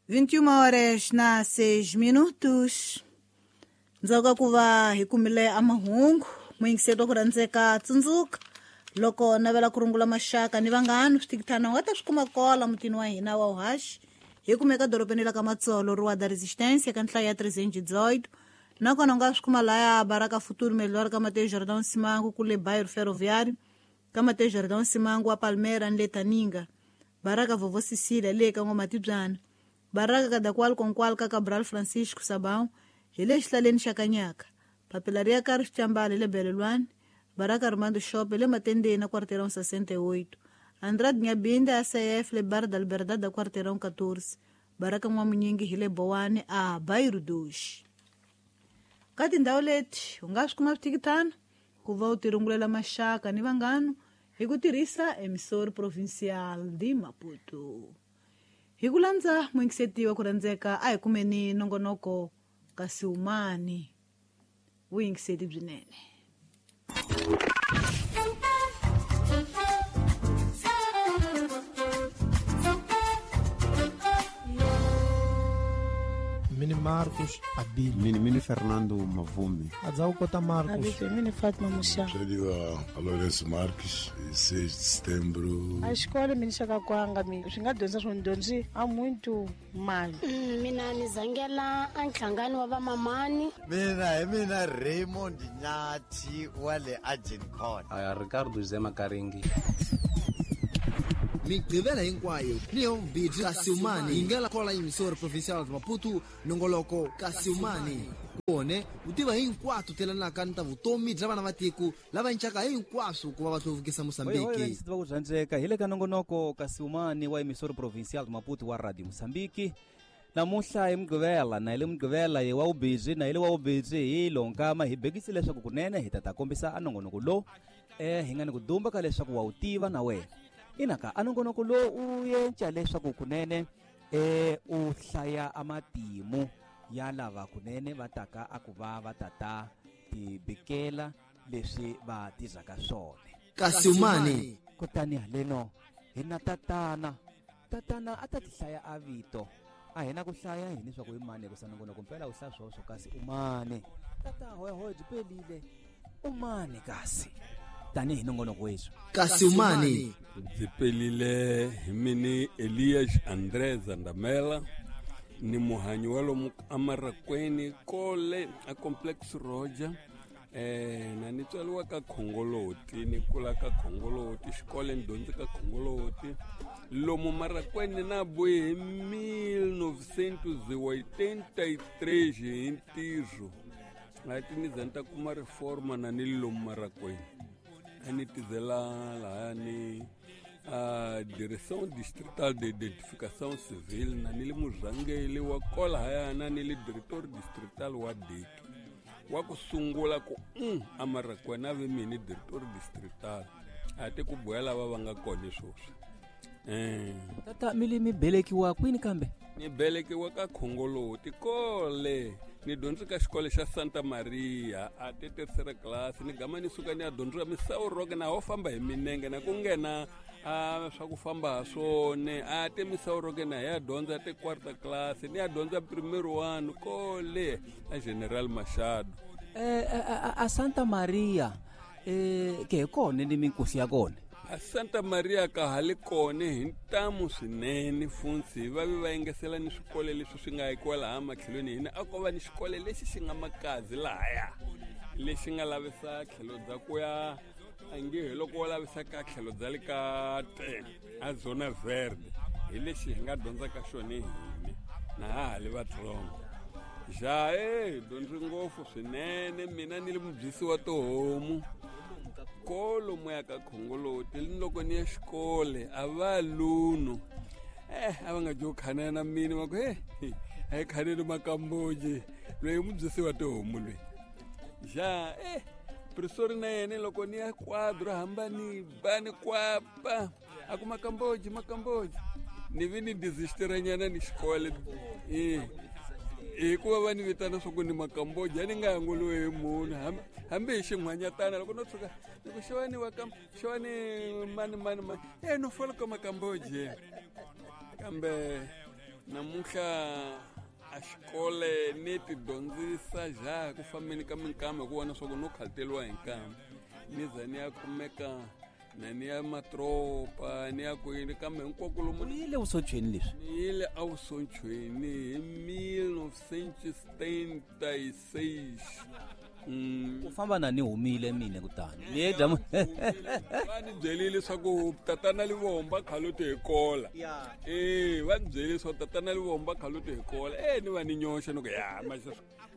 21 horas na 6 minutos. Ndzhaku ka ku va hi kumile a mahungu muyingiseri wa ku rhandzeka tsundzuka loko navela ku rungula maxaka ni vanghana switikithana u nga ta swi kuma kola mutini wa hina wa uhaxi hi kumeka dorobeni la ka Matsolo Rua da Resistência ka nhlayo ya 318 nakona u nga swi kuma laya Baraka Futuro Melhor ka Mateus Jordão Simango kule Bairro Ferroviário ka Mateus Jordão Simango wa Palmeira ni le Taninga Baraka Vovó Cecília le ka N'wamatibyana Baraka Kadakwal Konkwal ka Cabral Francisco Sabão hi le xihlaleni xa Kanyaka papila ri ya ka ri Xicambala hi le Belelwani Baraka Armando Shop hi le Matendeni na Quarteirão 68 Andrade Nyabinda ACF le Bar da Liberdade da Quarteirão 14 Baraka N'wamunyingi hi le Bowani a Bairro Dos. Ka tindhawu leti u nga swi kuma switikitana ku va u tirungulela maxaka ni vanghana hi ku tirhisa Emissor Provincial de Maputo. Hi ku landza muyingiseti wa ku rhandzeka a hi kumeni nongonoko kasi umani vuyingiseti byinene. Mini Marcos Abili. Mini Fernando Mavume. Adzau Kota Marcos. Abili mini Fatma Musha. Chadiwa Lourenço Marques, 6 de setembro. A escola mini Xakakwanga mi swi nga dyondza swo dyondzi a muito mali. Mina ni zangela a nhlangano wa vamamani. Mina hi mina Raymond Nyathi wa le Agincourt. Aya Ricardo Zema Karingi. Migqivela hinkwayo ni yombirhi Kasiumani yi nga kola Emissora Provincial de Maputo nongoloko Kasiumani kone u tiva hinkwato telanaka ni ta vutomi bya vana va tiko lava encaka hinkwaswo ku va va hluvukisa Mozambique. Tiva ku rhandzeka hi le ka nongonoko Kasiumani wa Emissora Provincial de Maputo wa Radio Mozambique. Namuhla hi Mugqivela na hi le Mugqivela hi wa ubhizi na hi le wa ubhizi hi lonkama hi bekisi leswaku kunene hi ta kombisa a nongonoko lowu hi nga ni ku dumba ka leswaku wa wu tiva na wena. Inaka a nongonoko lowu u yenca leswaku kunene u hlaya amatimu ya lava kunene va taka a ku va va tata tibikela leswi va tizaka swona. Kasiumani. Kutani haleno hi na tatana a ta tihlaya a vito a hina ku hlaya hini leswaku i mani ku sanongonoko mpela u hlaya swoswo kasi u mani tata hoyahoya byi pelile u mani kasi tanihi nongonoko wethu. Kasiumani. Byi pelile hi mini Elias André Zandamela ni muhanyi wa lomu amarakweni kole a Complex Roger na ni tswariwa ka Khongoloti ni kula ka Khongoloti xikolo ni dyondze ka Khongoloti lomu Marakweni na buye hi 1983 hi ntirho ati ni za ni ta kuma reforma na ni lomu Marakweni a ni tizela lahaya ni a Direção Distrital de Identificação Civil na ni le murhangeli wa kola haya na ni le diretor distrital wa DIC wa ku sungula ku Amarakweni a ve mini diretor distrital a ti ku boya lava va nga kona sweswi. Tata mi le mi belekiwa kwini kambe? Ni belekiwa ka Khongoloti kole ni dyondze ka xikolo xa Santa Maria a ti terceira class ni gama ni suka ni ya dyondza Misau Rock na ho famba hi minenge na ku nghena a swa ku famba ha swone a te Misau Rock na ya dyondza te quarta class ni ya dyondza primeiro ano kole a General Machado. A Santa Maria ke hi kona ni minkosi ya kona. A Santa Maria ka ha le kona hi ntamu swinene funtsi va ve va yengesela ni swikolo leswi swi nga akiwa laha matlhelweni hina a ko va ni xikolo lexi xi nga makazi lahaya lexi nga lavisa tlhelo bya ku ya ange hi loko wo lavisa ka tlhelo bya le ka te a Zona Verde hi lexi hi nga dyondzaka xona hini na ha ha le vatsongo. Ja dyondzi ngopfu swinene mina ni le mubyisi wa tihomu kolomu ya ka Khongoloti ni loko ni ya xikole a va luno a va nga dyo khanana na mina va ku a hi khaneni Makamboji loyi mubyisi wa tihomu loyi ja professor na yena loko ni ya quadro hamba ni ba ni kwapa a ku Makamboji Makamboji ni vi ni desistiranyana ni xikole hikuva va ni vitana swa ku ni Makamboji a ni nga hangoliwi hi munhu hambi hi xin'hwanyatana loko no tshuka ni ku xewani wa ka xewani mani mani mani no fola ka Makamboji kambe Namuntlha a xikole ni ti dyondzisa ja ku fambeni ka minkama hi ku vona swa ku no khalteriwa hi nkama ni za ni ya kumeka na ni ya matropa ni ya kwini kambe hinkwako lomu U yile vusochweni leswi? Ni yile evusochweni hi 1976. Ku famba na ni humile mine kutani ni ye dya. Va ni byelile leswaku tatana Livomba khaluti hi kola. E va ni byelile leswaku tatana Livomba khaluti hi kola. E ni va ni nyoxa ni ku ya maxa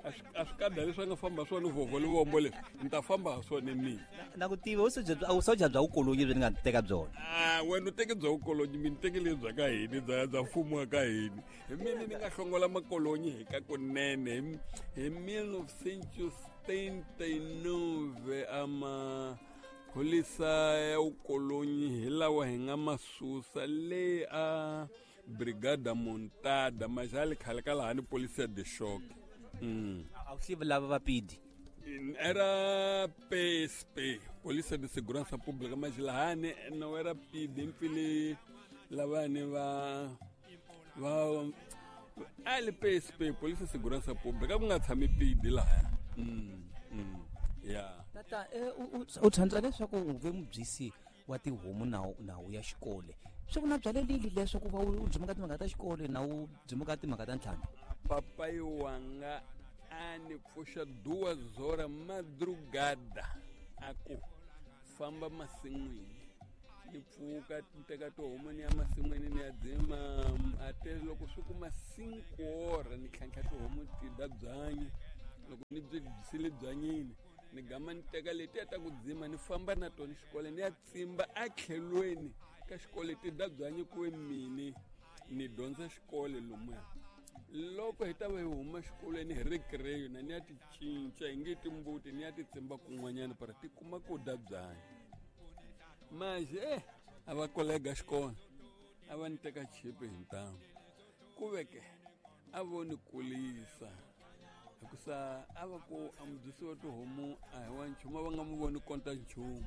a swi kada leswi a nga famba swona vhovho Livombo leswi ni ta famba ha swona mina. Na ku tiva vusocha bya vukolonyi byi ni nga teka byona. A wena u teke bya vukolonyi, mina ni teke lebyi bya ka hina bya mfumo wa ka hina. Hi mina ni nga hlongola makolonyi hi ka kunene hi 1979 a maphorisa ya vukolonyi hi lawa hi nga ma susa le a Brigada Montada maxali khale ka laha ni Polícia de Choque. A wu hlivi lava va pidi? Era PSP, Polícia de Segurança Pública, mas lahani no era PD mpfile lavani va va a li PSP, Polícia de Segurança Pública, ku nga tshami PD lahaya. Ya. Tata, u tshandza leswaku u ve mubyisi wa tihomu nawu ya xikole. Swi ku na byalelile leswaku va u dzimuka timhaka ta xikole na u dzimuka timhaka ta ntlhambi? Papai wanga a ni pfuxa duas horas madrugada a ku famba masin'wini. Ni pfuka ni teka tihomu ni ya masin'wini ni ya dzima a te loko swi kuma cinco horas ni tlhantlha tihomu ti dya byanyi. Loko ni byi byisile byanyini ni gama ni teka letiya ta ku dzima ni famba na tona xikolo ni ya tsimba etlhelweni ka xikolo ti dya byanyi ku ve mini ni dyondza xikolo lomuya. Loko hi ta va hi huma xikolweni hi recreyo na ni ya ti cinca hi nge timbuti ni ya ti tsimba kun'wanyana para ti kuma ku dya byanyi. Maje a va kolega xikolo a va ni teka chipi hi ntamu ku veke a vo ni kulisa hikusa a va ku a mudyisi wa tihomu a hi wa nchumu a va nga mu voni konta nchumu.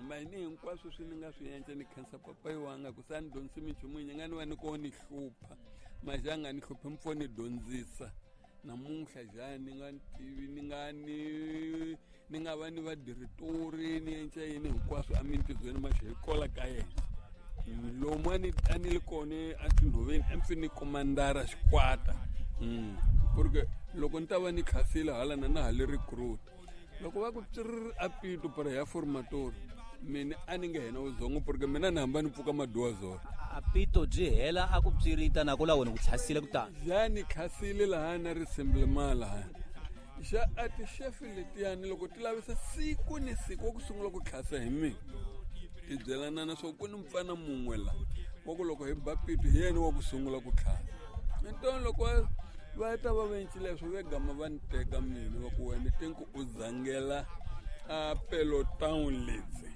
Mayini hinkwaswo swi ni nga swi endla ni khensa papayi wanga hikusa a ni dyondzisi minchumu yi nga ni va ni ko ni hlupha maje a nga ni hluphi mpfo ni dyondzisa. Namuntlha jani ni nga tivi ni nga ni ni nga va ni vadiritori ni endla yini hinkwaswo emintirhweni maxe hi kola ka yena. Lomu a ni a ni li kona etinhoveni a ni ni komandara xikwata. Porque loko ni ta va ni khasile hala na na ha le recruit. Loko va ku tsirr a pito para ya formator mina a ni nge hena uzongo porque mina ni hamba ni pfuka maduwa zona. A pito byi hela a ku psirita na ku la wena ku tlhasile kutani. Ja ni khasile laha na ri semblema laha. Ja a ti chef letiyani loko ti lavisa siku ni siku wa ku sungula ku tlhasa hi mina. Ti byelana na swa ku ni mpfana mun'we la wa ku loko hi ba pito hi yena wa ku sungula ku tlhasa. Ntoni loko va ta va vencile leswo ve gama va ni teka mina va ku wena tinku u zangela a peloton letse.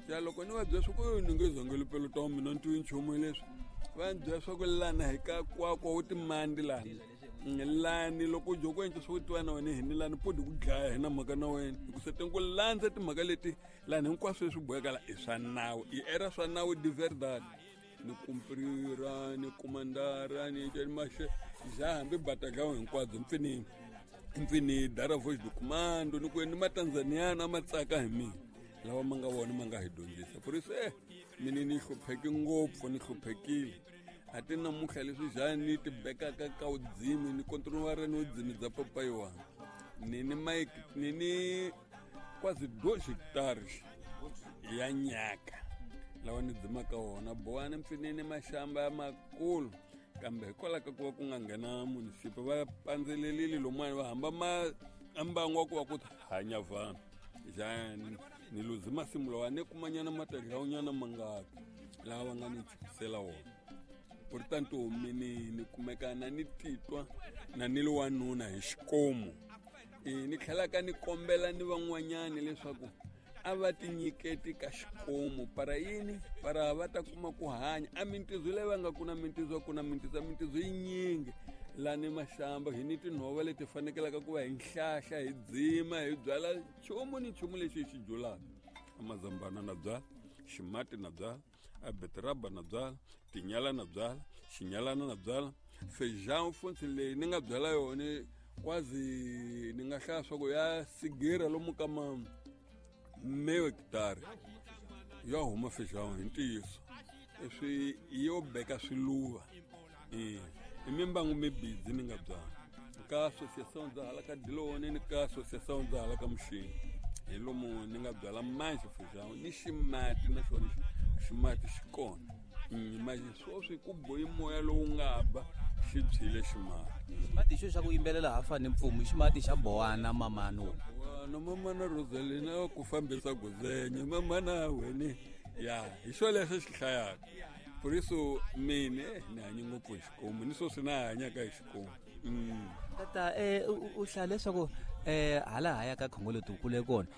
Ya loko ni va byela swa ku ni nge zangeli peloton mina ni twi nchumu leswi. Va ni byela swa ku lana hi ka kwakwa wu timandi lana. Lani loko u dya ku endla swa ku tiva na wena hi ni lani podi ku dlaya hi na mhaka na wena. Hikusa tinku landza timhaka leti lani hinkwaswo leswi boheka la i swa nawu. I era swa nawu de verdade. Ni kumprira ni komandara ni endla maxe ja hambi batagao hinkwabyo mpfini dara voice do commando ni ku ni matanzaniana ma tsaka hi mina lawa ma nga vona ma nga hi dyondzisa. Por isso mina ni hlupheke ngopfu ni hluphekile a ti namuntlha leswi ja ni ti bekaka ka vudzimi ni kontinuwara ni vudzimi bya papayi wa ni ni mike ni ni quase 2 hectares ya nyaka lawa ni dzimaka wona bowani mpfinini maxamba ya makulu kambe hikwalaho ka ku va ku nga nghena munisipa va pandzelelile lomuwani va hamba ma mbangu wa ku va ku hanya vanhu jani ni luzi masimu lawa ni kumanyana matadlawunyana mangaki lawa va nga ni chukisela wona. Portanto mini ni kumeka na ni titwa na ni li wanuna hi xikomu. Ni tlhela ka ni kombela ni van'wanyani leswaku a va tinyiketi ka xikomu para yini para va ta kuma ku hanya a mintizo leyi va nga ku na mintizo ku na mintizo mintizo yinyingi lani maxamba hi ni tinhova leti fanekelaka ku va hi nhlahla hi dzima hi byala nchumu ni nchumu lexi hi xi byulaka amazambana na byala ximati na byala a beteraba na byala tinyala na byala xinyalana na byala. Feijão futhi leyi ni nga byala yona kwazi ni nga hlaya swa ku ya sigira lomu ka ma meyo hekitara ya huma feijão hi ntiyiso. Leswi yo beka swiluva i mimbangu mibidzi ni nga byala ka associação dza hala ka Dilone ni ka associação dza hala ka Muxini hi lomu ni nga byala manji feijão ni ximati na xona ximati xi kona. Manje sweswi ku bohi moya lowu nga ba xi byile ximati. Ximati xo xa ku yimbelela hafa ni mpfumu ximati xa bowana mamano. Bowana mamana Rosalina ku fambisa guzenya mamana wena ya hi xo lexo xi hlayaka. Por isso mine ni hanye ngopfu hi xikomu ni sweswi na hanyaka hi xikomu. Tata u hlaya leswaku hala haya ka Khongoloti u kule kona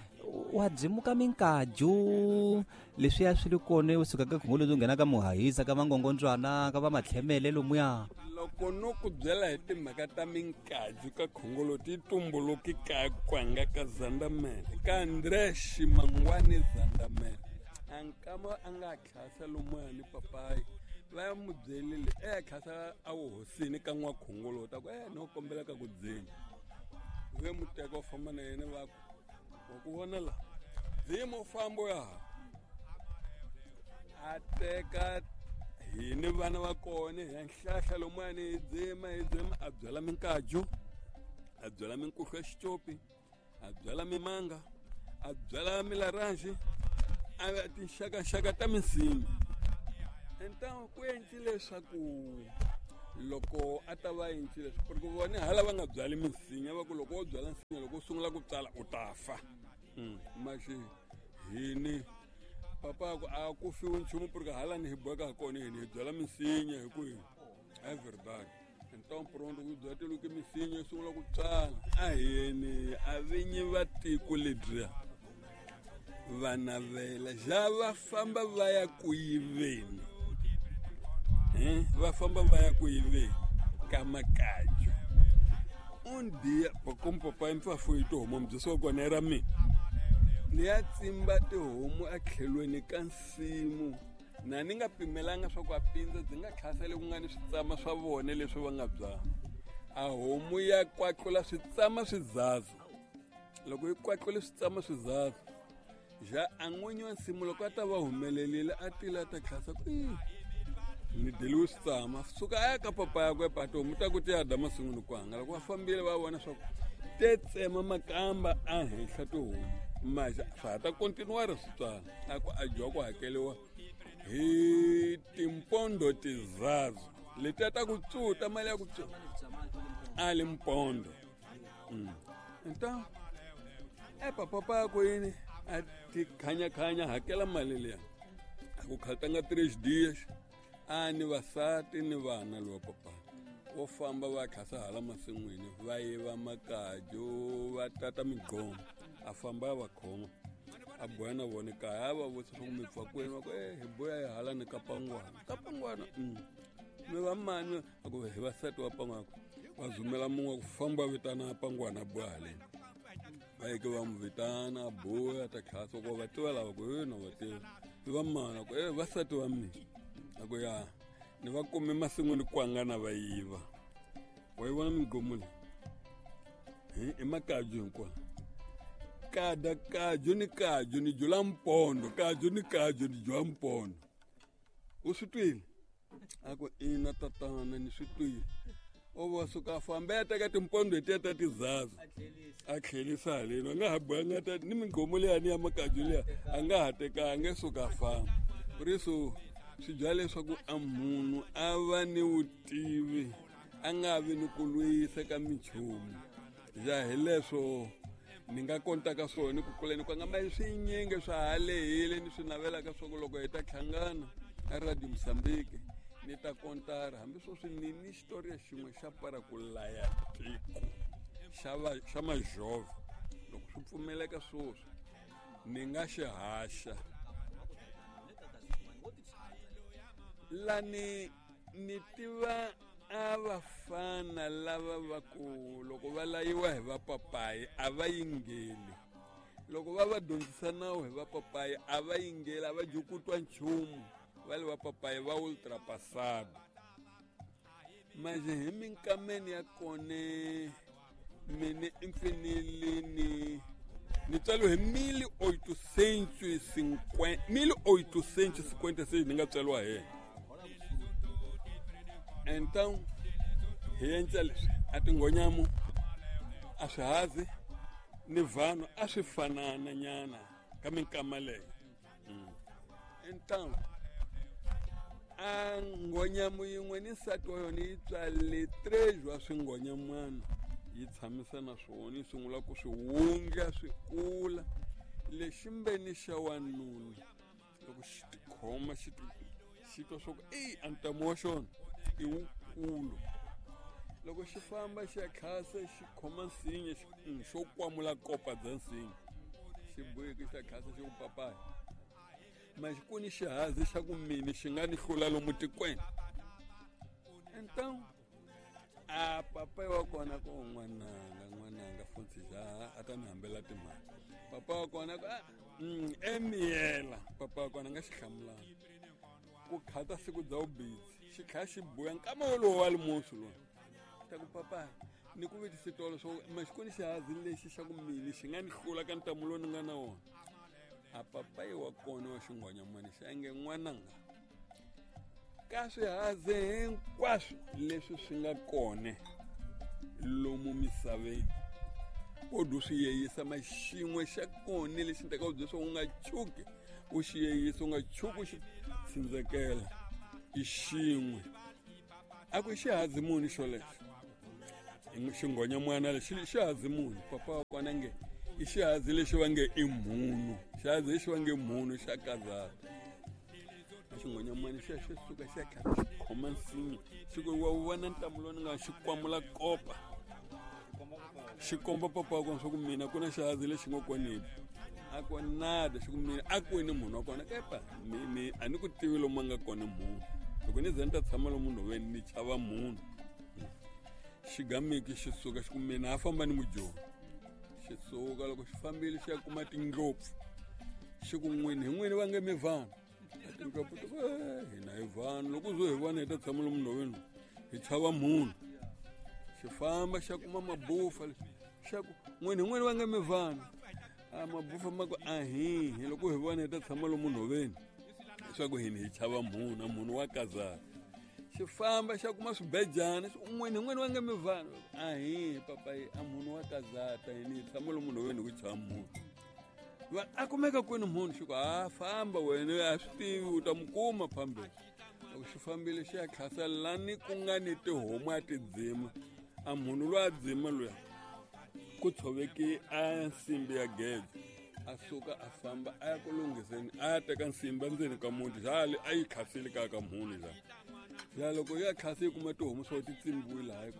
wa byimuka minkaju leswiya swi ri kona u suka ka Khongoloti u nghena ka Muhahisa ka Mangongondzwana ka va Matlhemele lomuya. Loko no ku byela hi timhaka ta minkaju ka Khongoloti yi tumbuluki ka kwanga ka Zandamele ka Andre Ximangwani Zandamele a nkama a nga tlhasa lomuya ni papayi va mu byelile tlhasa a wuhosini ka n'wa Khongoloti a ku no kombela ka ku dzima ve muteka u famba na yena va ku wa ku vona la dzima u famba ya a teka hini vana va kona hi nhlahla lomuyani hi dzima a byala minkaju a byala minkuhlu ya xicopi a byala mimanga a byala milaranji a tinxakaxaka ta minsinya. Então ku endli leswaku loko a ta va endlile porque vona hala va nga byali minsinya va ku loko wo byala nsinya loko u sungula ku tsala u ta fa. Maxi hini papa ku a ku fiwi nchumu porque hala ni hi boheka kona hini hi byala minsinya hi ku é verdade. Então pronto ku byatiluke minsinya yi sungula ku tsala a hini a vinyi va tiko ledyiya va navela ja va famba va ya ku yiveni. Va famba va ya ku yiveni ka makaju. Um dia como papai me foi tihomu mbyisi wa kona ra mina ni ya tsimba tihomu etlhelweni ka nsimu na ni nga pimelanga swa ku a pindza ndzi nga tlhasele ku nga ni switsama swa vona leswi va nga byala. A homu ya kwatlula switsama swizaza loko yi kwatlule switsama swizaza ja a n'winyi wa nsimu loko a ta va humelerile a tile a ta tlhasa ku ni deliwe switsama suka a ya ka papa yakwe tihomu ta ku ti ya dya masin'wini ku hangalaka va fambile va vona swa ku te tsema makamba a henhla tihomu maxa swa ha ta kontinuwara swi tswala a ku a dyiwa ku hakeliwa hi timpondo tizazo letiya ta ku tsuta mali ya ku tsuta a li mpondo. Então papa yakwe yini a ti khanya-khanya hakela mali liya a ku khatanga 3 dias a ni vasati ni vana lowa papa wo famba va tlhasa hala masin'wini va yiva makaju va tata migqomo a famba a va khoma a boya na vona kaya a va vutisa swa ku mi pfa kwini va ku hi boya hi hala ni ka Pangwana ka Pangwana mi va mani a ku hi vasati wa Pangwana va zumela mun'we ku famba vitana Pangwana a boya haleni va yeke va n'wi vitana a boya ta tlhasa ku va tiva lava ku na va tiva mi va mani ku vasati va mina a ku ya ni va kume masin'wini kwanga na va yiva wa yi vona migqomu leyi i makaju hinkwawo kada kaju ni kaju ni jula mpondo kaju ni kaju ni jula mpondo u swi twile a ku ina tatana ni swi twile o va suka a famba ya teka timpondo letiya ta tizaza a tlhelisa haleni a nga ha boyanga ta ni migqomu liyani ya makaju liya a nga ha tekanga suka a famba. Por isso swi byala leswaku a munhu a va ni vutivi a nga vi ni ku lwisa ka minchumu ja hi leswo ni nga kontaka swona ku kuleni kwanga ma swinyingi swa ha lehile ni swi navelaka swa ku loko hi ta hlangana a Radio Mozambique ni ta kontara hambi sweswi ni ni xitoriya xin'we xa para ku laya tiko xa majove loko swi pfumeleka sweswi ni nga xi haxa lani ni tiva a vafana lava va ku loko va layiwa hi vapapayi a va yingeli loko va va dyondzisa nawu hi vapapayi a va yingeli a va jukutwa nchumu va le vapapayi va ultrapassado. Manje hi minkameni ya kone mine infinilini ni tswariwe hi 1856 ni nga tswariwa hi yena. Então hi endla leswi a tinghonyamu a swihazi ni vanhu a swi fanana nyana ka minkama leyo. Então a nghonyamu yin'we ni nsati wa yona yi tswale 3 wa swinghonyamwana, yi tshamisa na swona, yi sungula ku swi wundla swi kula. Lexi mbeni xa wanuna loko xi tikhoma xi twa swa ku eyi a ntamu wa xona i wukulu. Loko xi famba xi ya khasa xi khoma nsinya xo kwamula kopa bya nsinya, xi boheke xi ya khasa xi ku papaya ma xi ku ni xihazi xa ku mini xi nga ni hlula lomu tikweni. Então a papai wa kona ku n'wananga futhi ja a ta ni hambela timali. Papa wa kona ku emiyela. Papa wa kona nga xi hlamulanga ku khata siku bya vubidzi xi kha xi buya nkama wolowo wa limusu lowu ta ku papa ni ku vitise tolo swo ma xi ku ni xihazi lexi xa ku mini xi nga ni hlula ka ntamu lowu ni nga na wona. A papai wa kona wa xinghonyamani xi ange n'wananga ka swihazi hinkwaswo leswi swi nga kona lomu misaveni wo swi yeyisa ma xin'we xa kona lexi ni tekaka bya swo u nga chuki u xi yeyisa, u nga chuki u xi tsindzekela i xin'we. A ku xihazi muni xolexo xinghonyamwana lexi xihazi muni? Papa wa kona nge i xihazi lexi va nge i mhunu, xihazi lexi va nge mhunu xa kazata. Xinghonyamwana xa xi suka xi ya kha xi khoma nsinya xi ku wa vona ntamu lowu ni nga xi kwamula kopa xi komba papa wa kona swa ku mina ku na xihazi lexi nga koneni a ku nada xi ku mina a kwini munhu wa kona kepa mi a ni ku tivi lomu a nga kona munhu loko ni ze ni ta tshama lomu nhoveni ni chava munhu. Xigamiki xi suka xi ku mina a famba ni mujoni xi suka loko xi fambile xi ya kuma tindlopfu xi ku n'wini hi n'wini va nge mi vanhu tindlopfu ti ku hina hi vanhu loko zo hi vona hi ta tshama lomu nhoveni hi chava munhu. Xi famba xa kuma mabufa xa ku n'wini hi n'wini va nge mi vanhu a mabufa ma ku ahihi loko hi vona hi ta tshama lomu nhoveni leswaku hina hi chava munhu a munhu wa kazaka. Xi famba xa kuma swibejana n'wini hi n'wini va nge mi vanhu ahihi papayi a munhu wa kazata hina hi tshama lomu nhoveni hi ku chava munhu. Va a kumeka kwini munhu xi ku ha famba wena a swi tivi u ta mu kuma phambeni. Loko xi fambile xi ya khasa lani ku nga ni tihomu a ti dzima a munhu loyi a dzima luya ku tshoveki a nsimbi ya geze a suka a famba a ya ku lunghiseni a ya teka nsimbi endzeni ka muti xale a yi khasile kaya ka munhu la ya loko ya khasi yi kuma tihomu swo ti tsimbiwile hayi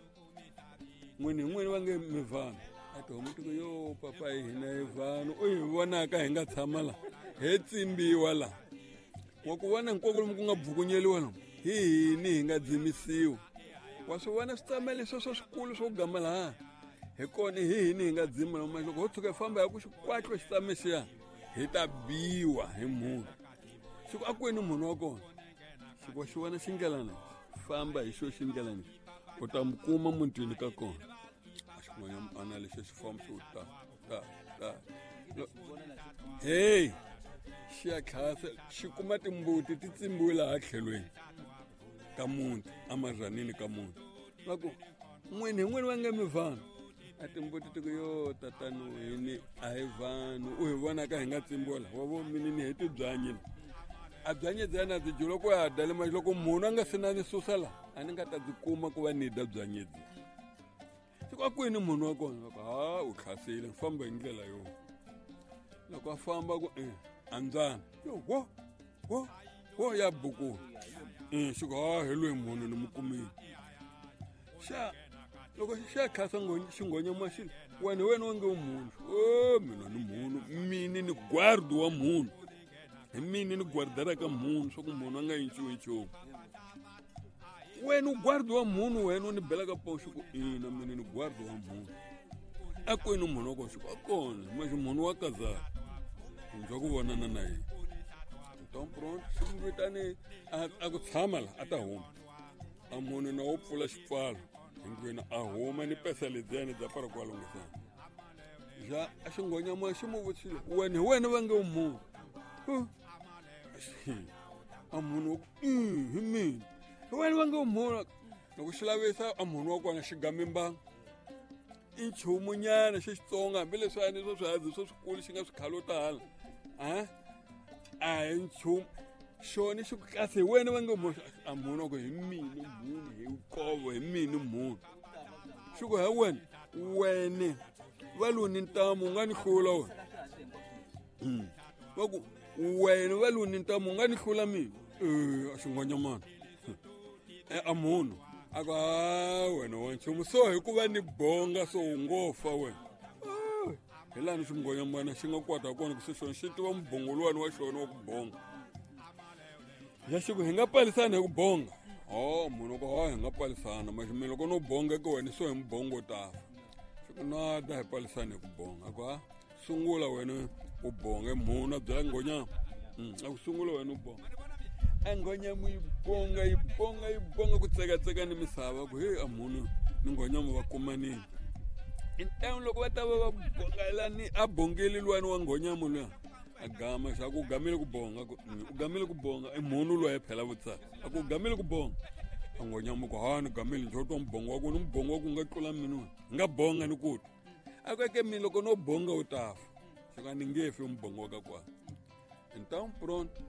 n'wini hi n'wini va nge mi vanhu a tihomu ti ku yo papa hina hi vanhu u hi vonaka hi nga tshama la he tsimbiwa la wa ku vona hinkwako lomu ku nga bukunyeliwa lomu hi hini hi nga dzimisiwa wa swi vona switsamele sweswo swikulu swo gama laha hi kona hi hini hi nga dzima lomu loko ho tshuka hi famba hi ku xikwatlo xitsame xiya hi ta biwa hi munhu xi ku a kwini munhu wa kona xi ku xi vona xindlelana famba hi xo xindlelana u ta mu kuma mutini ka kona a xin'wanyana lexi xi famba xi ta ta ta hey xi ya khasa xi kuma timbuti ti tsimbiwe laha tlhelweni ka muti amazanini ka muti va ku n'wini hi n'wini va nge mi vanhu a timbuti ti ku yo tatani hini a hi vanhu u hi vonaka hi nga tsimbiwa laha wa vo mini ni hi tibyanyini a byanyi byana byi dyi loko ya dya le loko munhu a nga se na ni susa laha a ni nga ta byi kuma ku va ni dya byanyi byi xi ku a kwini munhu wa kona va ku ha u khasile famba hi ndlela yo loko a famba ku andzana yo wo wo wo ya buku xi ku ha hi loyi munhu ni mu kumile xa loko xa khasa xinghonyama xi wena wena wa nge u munhu o mina ni munhu mini ni guardi wa munhu hi mini ni guardaraka munhu swa ku munhu a nga yinciwi nchumu wena u guardi wa munhu wena u ni belaka poxo ku ina mina ni guardi wa munhu a kwini munhu wa kona xi ku a kona maxi munhu wa kazaka ndza ku vonana na yena então pronto xi n'wi vitane a ku tshama la a ta huma. A munhu na wo pfula xipfalo hinkwenu a huma ni pesa lebyani bya para kwalungisana. Ja a xinghonyama xi mu vutisile, wena hi wena va nge u munhu? A munhu wa ku hi mina. Hi wena va nge u munhu? Loko xi lavisa a munhu wa kona xi game mbangu. I nchumunyana xi xitsonga hambileswi a ni swo swihazi swo swikulu xi nga swikhalo tala. A hi nchumu. Xona xi ku kasi hi wena va nge munhu? A munhu wa ku hi mina munhu, hi nkovo hi mina munhu. Xi ku he wena, wena va luni ntamu u nga ni hlula wena. Va ku wena va luni ntamu u nga ni hlula mina. A xinghonyamana. A munhu a ku a wena wa nchumu so hikuva ni bonga so u ngo fa wena. Hi laha xinghonyamana xi nga kwata kona ku se xona xi tiva mubongo luwani wa xona wa ku bonga. Ya xi ku hi nga palisana hi ku bonga. Munhu ku hi nga palisana mara mina loko no bonga ka wena so hi mubongo ta fa. Xi ku na da hi palisana hi ku bonga. A ku ha sungula wena u bonga munhu a byela nghonyama. A ku sungula wena u bonga. A nghonyama yi bonga yi bonga yi bonga ku tsekatseka ni misava ku he a munhu ni nghonyama va kumanile. Intamu loko va ta va va bongela ni a bongeli luwani wa nghonyama luya. A gama xa ku gamile ku bonga ku u gamile ku bonga i munhu loyi phela vutsa a ku gamile ku bonga. A nghonyama ku ha ni gamile njo twa mubongo wa ku ni mubongo wa ku nga tlula mina nga bonga ni ku a ku ke mina loko no bonga u ta fa. Xi ka ni nge fi mubongo wa ka kwa. Então pronto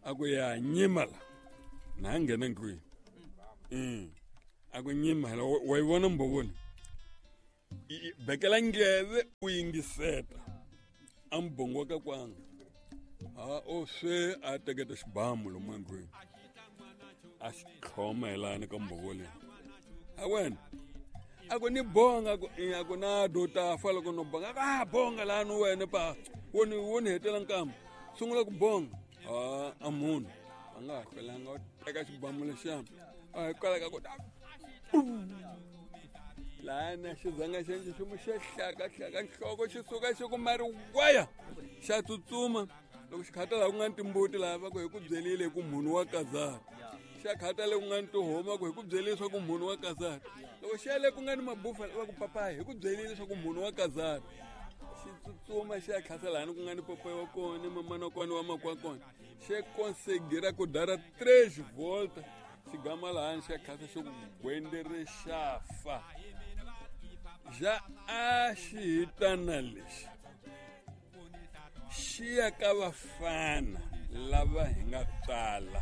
a ku ya nyima la na nghena ndlwini. A ku nyima la wa yi vona mbovoni. Bekela ndleve u yingiseta. A mubongo wa ka kwanga. O se a teketa xibamu lomu endlwini. A xi tlhoma hi lani ka mbhovo leyi. A wena a ku ni bonga ku a ku na do ta fa loko no bonga. A bonga lani wena pa wo ni hetela nkamba. Sungula ku bonga. A munhu a nga ha hlwelanga u teka xibamu lexiya. A hikwalaho ka ku lana xizanga xa nchumu xa hlakahlaka nhloko xi suka xi ku mari waya xa tsutsuma. Loko xi khata laha ku nga ni timbuti laha va ku hi ku byelile ku munhu wa kazara. Xa khata le ku nga ni tihoma ku hi ku byelile leswaku munhu wa kazara. Loko xi ya le ku nga ni mabufa va ku papayi hi ku byelile leswaku munhu wa kazara. Xi tsutsuma xi ya khasa laha ku nga ni papayi wa kona mamana wa kona wa makwa kona. Xi conseguira ku dara 3 volta. Xi gama laha xi ya khasa xi ku gwendere xa fa. Ja a xi hitana lexi. Xi ya ka vafana lava hi nga tswala.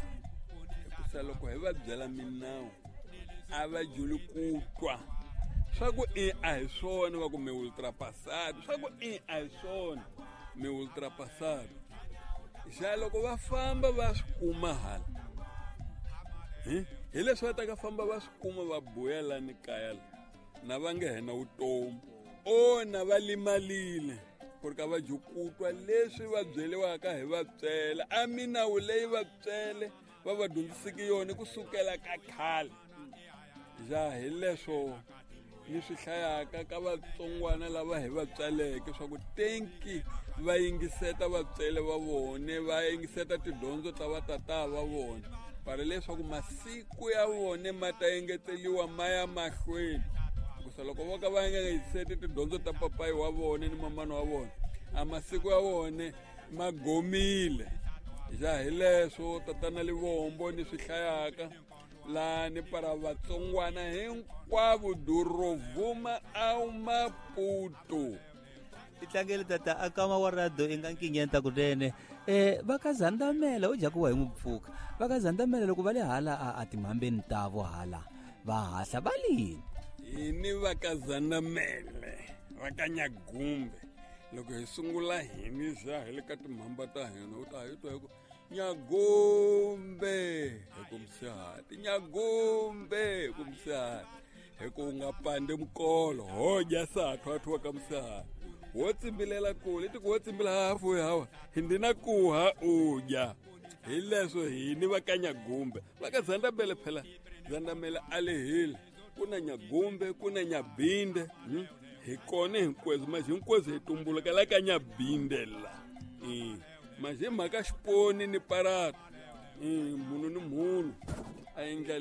Hikusa loko hi va byela minawu a va juli ku twa. Swa ku i a hi swona va ku mi ultrapassado. Swa ku i a hi swona mi ultrapassado. Xa loko va famba va swi kuma hala. Hi leswi va ta ka famba va swi kuma va buya lani kaya la. Na va nge hena vutomi. O na va limalile. Ku ri ka va jukutwa leswi va byeliwaka hi vatswele. A minawu leyi vatswele va va dyondziseke yona kusukela ka khale. Ja hi leswo ni swi hlayaka ka vatsongwana lava hi va tswaleke swa ku tenki va yingiseta vatswele va vone, va yingiseta tidyondzo ta vatata va vona. Para leswaku masiku ya vone ma ta engeteliwa ma ya mahlweni. Hikusa loko vo ka va nga yingiseti tidyondzo ta papayi wa vone ni mamana wa vona, a masiku ya vone ma gomile. Ja hi leswo tatana Livombo ni swi hlayaka lani para vatsongwana hinkwavo durovuma a Maputo. Titlangele tata a kama wa radio i nga nkinyenta kunene. Va ka Zandamela u jakuwa hi n'wi pfuka. Va ka Zandamela loko va le hala a timhambeni tavo hala va hahla va lini. Hi ni va ka Zandamele va ka Nyagumbe. Loko hi sungula hi ni za hi le ka timhamba ta hina u ta hi twa hi ku Nyagumbe hi ku msihati, Nyagumbe hi ku msihati. Hi ku u nga pande mukolo ho dya sathwathwa ka msihati. Wo tsimbilela kule ti ku wo tsimbila hafu hawa hi ndina kuha u dya. Hi leswo hi ni va ka Nyagumbe. Va ka Zandamele phela Zandamele a lehile. Ku na Nyagumbe ku na Nyabinde. Hi kona hinkwenu manje hinkwenu hi tumbuluka la ka Nyabinde la. Manje mhaka xiponi ni parata. Munhu ni munhu a endla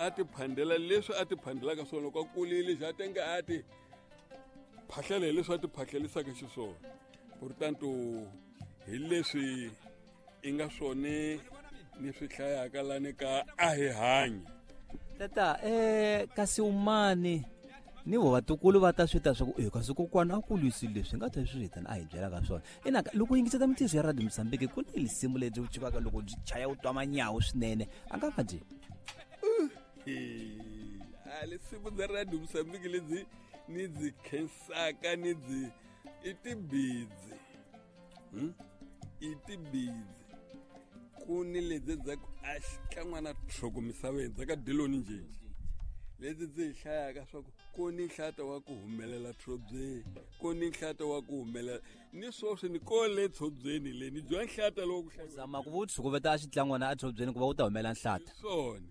A ti phandela leswi a ti phandelaka swona loko a kulile xa tenge a ti phahlela hi leswi a ti phahlelisaka xiswona. Portanto hi leswi i nga swone ni swi hlayaka lani ka a hi hanyi. Tata kasi umani ni vo vatukulu va ta swi ta swa ku kasi kokwana a kulisi leswi nga ta swi hitana a hi byelaka swona. Ina loko yingiseta mintiyiso ya Radio Mozambique ku ni lisimu lebyi u chivaka loko byi chaya u twa manyawu swinene a nga va byi a lisimu bya Radio Mozambique lebyi ni byi khensaka ni byi i tibidzi. I tibidzi ku ni lebyi bya ku a xikan'wana tlhoko misaveni bya ka Diloni Njenje lebyi byi hi hlayaka swa ku ku ni nhlata wa ku humelela tshobyeni, ku ni nhlata wa ku humelela ni swoswi ni ko le tshobyeni le ni dya nhlata lowu ku zama ku vu tshukuveta a xitlangwana a tshobyeni ku va wu ta humela nhlata swona.